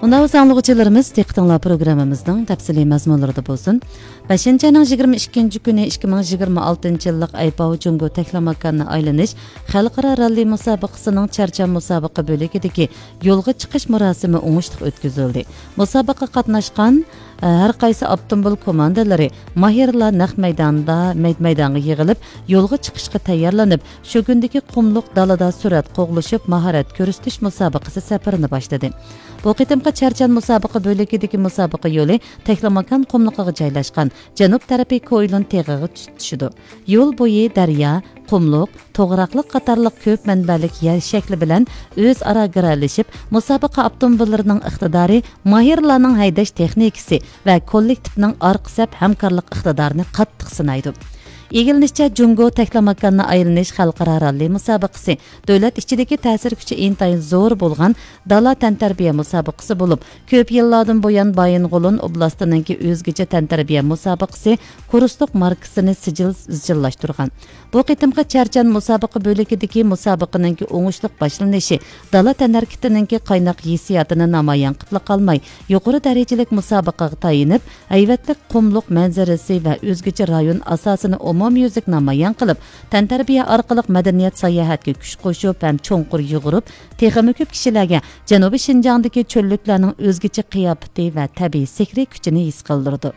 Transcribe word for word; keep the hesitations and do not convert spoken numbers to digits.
مۇناۋىز ئاڭلىغۇچىلىرىمىز، دىققىتىڭلار پروگراممىمىزنىڭ تەپسىلىي مەزمۇنلىرىدا بولسۇن. بەشىنچى ئاينىڭ يىگىرمە ئىككىنچى كۈنى ئىككى مىڭ يىگىرمە ئالتىنچى يىللىق ئەيپاۋ جۇڭگو تەكلىماكاننى ئايلىنىش خەلقئارا راللى مۇسابىقىسىنىڭ چەرچان مۇسابىقە بۆلىكىدىكى يولغا چىقىش مۇراسىمى ئوڭۇشلۇق ئۆتكۈزۈلدى. مۇسابىقىگە قاتناشقان، ئە، ھەر قايسى ئاپتوموبىل كوماندىلىرى ماھىرلار نەق مەيداندا مەيد-، مەيدانغا يىغىلىپ، يولغا چىقىشقا تەييارلىنىپ، شۇ كۈندىكى قۇملۇق دالىدا سۈرئەت قوغلىشىپ، ماھارەت كۆرسىتىش مۇسابىقىسى سەپىرىنى باشلىدى. بۇ قېتىمقى چەرچان مۇسابىقە بۆلىكىدىكى مۇسابىقە يولى تەكلىماكان قۇملۇقىغا جايلاشقان، جەنۇب تەرىپى كويلۇن تېغىغا چۈشىدۇ. يول بويى دەريا، قۇملۇق، توغراقلىق قاتارلىق كۆپ مەنبەلىك يەر شەكلى بىلەن ئۆزئارا گىرەلىشىپ، مۇسابىقە ئاپتوموبىللىرىنىڭ ئىقتىدارى، ماھىرلارنىڭ ھەيدەش تېخنىكىسى ۋە كوللېكتىپنىڭ ئارقا سەپ ھەمكارلىق ئىقتىدارىنى قاتتىق سىنايدۇ. ئىگىلىنىشىچە، جۇڭگو تەكلىماكاننى ئايلىنىش خەلقئارا راللى مۇسابىقىسى دۆلەت ئىچىدىكى تەسىر كۈچى ئىنتايىن زور بولغان دالا تەنتەربىيە مۇسابىقىسى بولۇپ، كۆپ يىللاردىن بۇيان بايىنغولىن ئوبلاستىنىڭكى ئۆزگىچە تەنتەربىيە مۇسابىقىسى كۇرسلۇق ماركىسىنى سىجىل ئىزچىللاشتۇرغان. بۇ قېتىمقى چەرچان مۇسابىقە بۆلىكىدىكى مۇسابىقىنىڭكى ئوڭۇشلۇق باشلىنىشى دالا تەنھەرىكىتىنىڭكى قايناق ھېسسىياتىنى نامايان قىلىپلا قالماي، يۇقىرى دەرىجىلىك مۇسابىقىگە تايىنىپ، ھەيۋەتلىك قۇملۇق مەنزىرىسى ۋە ئۆزگىچە رايون ئاساسىنى ئومۇميۈزلۈك نامايان قىلىپ، تەنتەربىيە ئارقىلىق مەدەنىيەت ساياھەتكە كۈچ قوشۇپ ھەم چوڭقۇر يۇغۇرۇپ، تېخىمۇ كۆپ كىشىلەرگە جەنۇبىي شىنجاڭدىكى چۆللۈكلەرنىڭ ئۆزگىچە قىياپىتى ۋە تەبىئىي سېھرىي كۈچىنى ھېس قىلدۇرىدۇ.